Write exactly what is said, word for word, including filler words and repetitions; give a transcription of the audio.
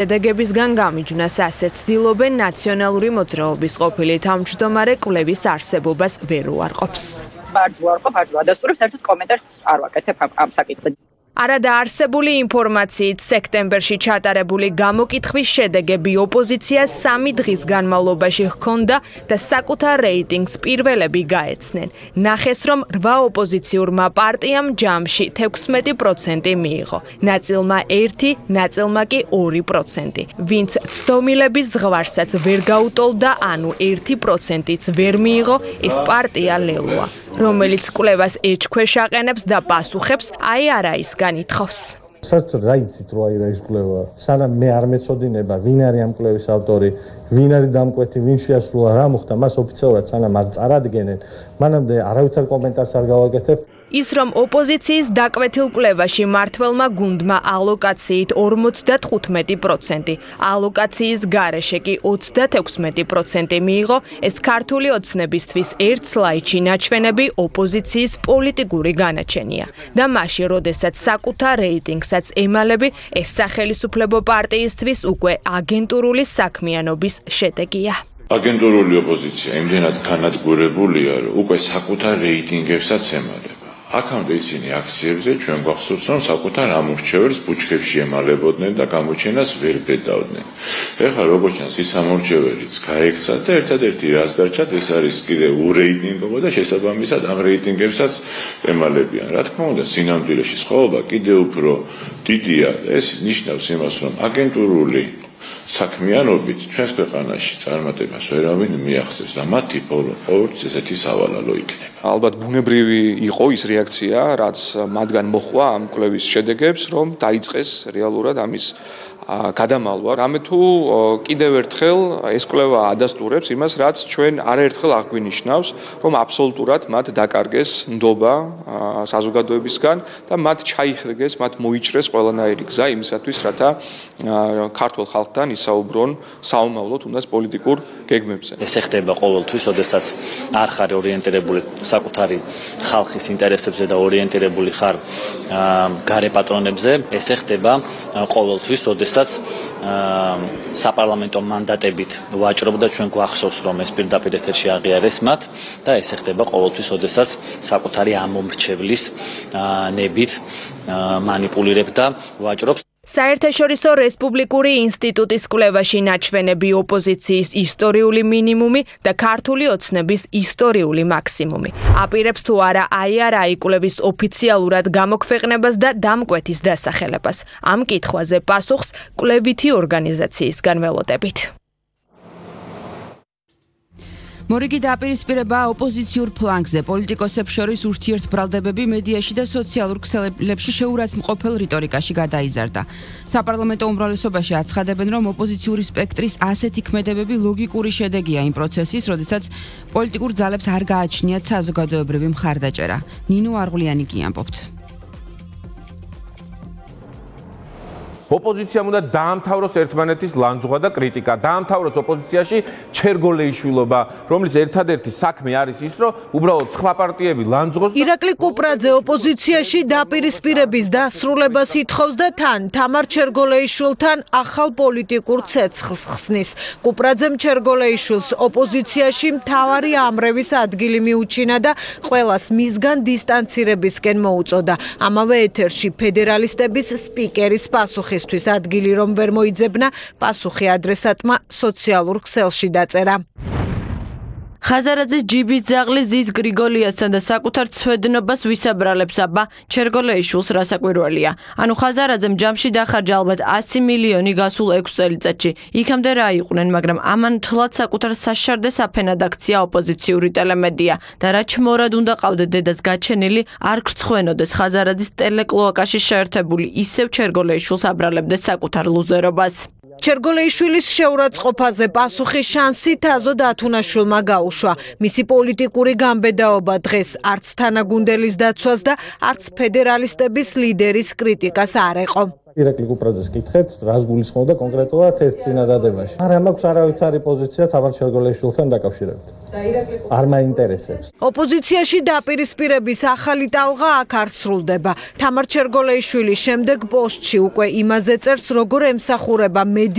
შედეგებისგან გამიჯვნას ასეც ცდილობენ ნაციონალური მოძრაობის ყოფილი თავმჯდომარე კვლევის არსებობას ვერ უარყოფს. ბარძო არყოფ, ბარძო ადასტურებს, საერთოდ კომენტარს არ ვაკეთებ ამ საკითხზე. არადაარსებული ინფორმაციით სექტემბერში ჩატარებული გამოკითხვის შედეგები ოპოზიციას სამი დღის განმავლობაში ჰქონდა და საკუთარ რეიტინგს პირველები გაეცნენ. ნახეს, რომ რვა ოპოზიციურმა პარტიამ ჯამში თექვსმეტი პროცენტი მიიღო. ნაწილმა ერთი, ნაწილმა კი ორი პროცენტი. ვინც ცდომილების ზღვარსაც ვერ გაუტოლდა, ანუ ერთი პროცენტიც ვერ მიიღო, ეს პარტია ლელოა, რომელიც კვლევას ეჭქვეშ აყენებს და პასუხებს აი არა ის განითხოვს. საერთოდ რა იცით რო აი რა ის კვლევა? სანამ მე არ მეწოდინება, ვინ არის ამ კვლევის ავტორი, ვინ არის დამკვეთი, ვინ შეასრულა, რა მოხდა, მას ოფიციალურად სანამ არ წარადგენენ, მანამდე არავითარ კომენტარს არ გავაკეთებ. ის რომ ოპოზიციის დაკვეთილ კვლევაში მართველმა გუნდმა ალოკაციით ორმოცდათხუთმეტი პროცენტი, ალოკაციის გარეშე კი ოცდათექვსმეტი პროცენტი მიიღო, ეს ქართული ოცნებისთვის ერთ სლაიდში ნაჩვენები ოპოზიციის პოლიტიკური განაჩენია. და მაშინ, როდესაც საკუთარ რეიტინგსაც ემალები, ეს სახელისუფლებო პარტიისთვის უკვე აგენტურული საქმიანობის შედეგია. აგენტურული ოპოზიცია იმდენად განადგურებულია, რომ უკვე საკუთარ რეიტინგებსაც ემალება. აქამდე ისინი აქციებზე ჩვენ გვახსოვს, რომ საკუთარ ამორჩეველს ბუჩქებში ემალებოდნენ და გამოჩენას ვერ ბედავდნენ. ეხლა როგორც ჩანს, ის ამორჩეველიც გაექცა და ერთადერთი რაც დარჩათ, ეს არის კიდევ ურეიტინგობა და შესაბამისად ამ რეიტინგებსაც ემალებიან. რა თქმა უნდა, სინამდვილეში სხვაობა კიდევ უფრო დიდია. ეს ნიშნავს იმას, რომ აგენტურული საქმიანობით ჩვენს ქვეყანაში წარმატებას ვერავინ მიაღწევს და მათი ბოლო ყოველთვის ესეთი სავალალო იქნება. ალბათ ბუნებრივი იყო ის რეაქცია, რაც მათგან მოხვა ამ კვლევის შედეგებს, რომ დაიწყეს რეალურად ამის გადამალვა. რამე თუ კიდევ ერთხელ ეს კვლევა ადასტურებს იმას, რაც ჩვენ არაერთხელ აღვინიშნავს, რომ აბსოლუტურად მათ დაკარგეს ნდობა საზოგადოებისგან და მათ ჩაიხრეგეს, მათ მოიჭრეს ყველანაირი გზა იმისათვის, რათა ქართულ ხალხთან ისაუბრონ საომავლო თუნდაც პოლიტიკურ გეგმებზე. ეს ხდება ყოველთვის, როდესაც არ ხარ ორიენტირებული საკუთარი ხალხის ინტერესებზე და ორიენტირებული ხარ გარე პატრონებზე, ეს ხდება ყოველთვის, როდესაც საპარლამენტო მანდატებით ვაჭრობ და ჩვენ გვახსოვს, რომ ეს პირდაპირ ეთერში აღიარეს მათ და ეს ხდება ყოველთვის, როდესაც საკუთარი ამომრჩევლის ნებით მანიპულირებ და ვაჭრობს. საერთაშორისო რესპუბლიკური ინსტიტუტის კვლევაში ნაჩვენები ოპოზიციის ისტორიული მინიმუმი და ქართული ოცნების ისტორიული მაქსიმუმი. აპირებს თუ არა აი არა კვლევის ოფიციალურად გამოქვეყნებას და დამკვეთის დასახელებას. ამ კითხვაზე პასუხს კვლევითი ორგანიზაციისგან ველოდებით. მორიგი დააპირისპირება ოპოზიციურ ფლანგზე პოლიტიკოსებს შორის ურთიერთბრალდებები მედიაში და სოციალურ ქსელებში შეურაცხმყოფელ რიტორიკაში გადაიზარდა. საპარლამენტო უმრავლესობაში აცხადებენ, რომ ოპოზიციური სპექტრის ასეთი ქმედებები ლოგიკური შედეგია იმ პროცესის, როდესაც პოლიტიკურ ძალებს არ გააჩნიათ საზოგადოებრივი მხარდაჭერა. ნინო არღულიანი კი ამბობთ. ოპოზიციამ უნდა დაამთავროს ერთმანეთის ლანძღვა და კრიტიკა, დაამთავროს ოპოზიციაში ჩერგოლეიშვილობა, რომლის ერთადერთი საქმე არის ის, რომ უბრალოდ სხვა პარტიები ლანძღოს. ირაკლი კუპრაძე ოპოზიციაში დაპირისპირების დასრულებას ითხოვს და თან თამარ ჩერგოლეიშვილთან ახალ პოლიტიკურ ცეცხლს ხსნის. კუპრაძემ ჩერგოლეიშვილს ოპოზიციაში მთავარი ამრევის ადგილი მიუჩინა და ყველას მისგან დისტანცირებისკენ მოუწოდა. ამავე ეთერში ფედერალისტების სპიკერის პასუხი ადგილი რომ ვერ მოიძებნა, პასუხი ადრესატმა სოციალურ ქსელში დაწერა. ხაზარაძის ჯიბის ძაღლი ზის გრიგოლიასთან და საკუთარ ცვედნობას ვისაბრალებს აბა ჩერგოლეიშვილს რასაკვირველია. ანუ ხაზარაძემ ჯამში დახარჯა ალბათ ასი მილიონი გასულ ექვს წელიწადში. იქამდე რა იყვნენ, მაგრამ ამან თლად საკუთარ საშარდეს აფენად აქცია ოპოზიციური ტელემედია და რა ჩმორად უნდა ყავდეთ დედას გაჩენილი, არ გრცხვენოდეს ხაზარაძის ტელეკლოაკაში შეერთებული ისევ ჩერგოლეიშვილს აბრალებდეს საკუთარ ლუზერობას. ჩერგოლეიშვილის შეურაცხყოფაზე პასუხი შანსი თაზო დათუნაშვილმა გაუშვა. მისი პოლიტიკური გამბედაობა დღეს არც თანაგუნდელის დაცვას და არც ფედერალისტების ლიდერის კრიტიკას არ ეყო. ირაკლი კუპრაძეს კითხეთ, რას გულისხმობდა კონკრეტულად ერთ წინადადებაში. არ მაქვს არავითარი პოზიცია თამარ ჩერგოლეიშვილთან დაკავშირებით. არ მაინტერესებს. ოპოზიციაში დაპირისპირების ახალი ტალღა აქ არ სრულდება. თამარ ჩერგოლეიშვილის შემდეგ პოსტში უკვე იმაზე წერს, როგორ ემსახურება